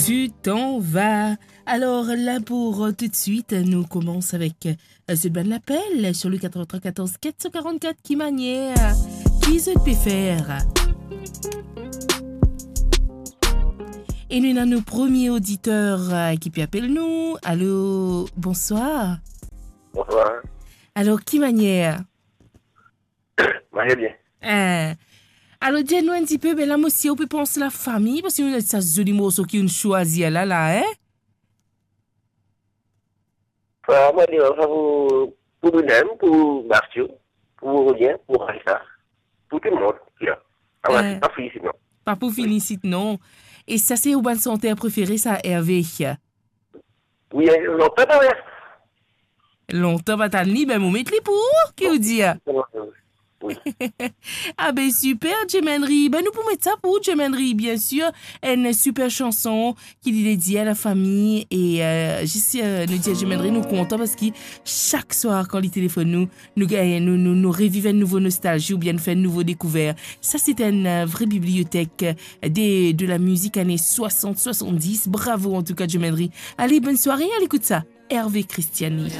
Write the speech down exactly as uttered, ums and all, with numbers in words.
Tu t'en vas. Alors là, pour, euh, tout de suite, nous commençons avec, euh, ce bon appel sur le quatre-vingt-trois quatorze quatre cent quarante-quatre. Ki manier, ki zot pe fer? E nou ena nou premie oditer, euh, ki pe apel nou. Alo, bonswar. Bonswar. Alor, ki manier? Manier bien. Eh. Alor, dir nou enn tipe, be la, mo sir ou pe pans lafami, parski nou ena sa zoli morso ki ou'nn swazir la, la, eh? Sa, mo dir, sa pou, pou nou mem, pou Bastio, pou Rodien, pou Raisa, pou tou lemond ki la. Ah, eh, pa pou fini isit, non. Pa pou fini isit, non. E sa, se ou bann santer prefere, sa, Hervé? Wi, eh, lontan pa, wi. Lontan pa tann li, be mo met li pou ou, ki ou dir? Wi. Ah be, siper, Jim Henry. Be nou pou met sa pou ou, Jim Henry, bien sir. Enn siper sanson ki li dedie a lafami. E, euh, zis, euh, nou dir Jim Henry, nou kontan parski sak swar kan li telefonn nou, nou gagn, nou, nou, nou reviv enn nouvo nostalzi oubien nou fer enn nouvo dekouver. Sa, se enn, euh, vre bibliotek de, de la mizik ane swasant, swasanndis. Bravo, an tou ka, Jim Henry. Ale, bonn sware, al ekout sa. Hervé Christiani.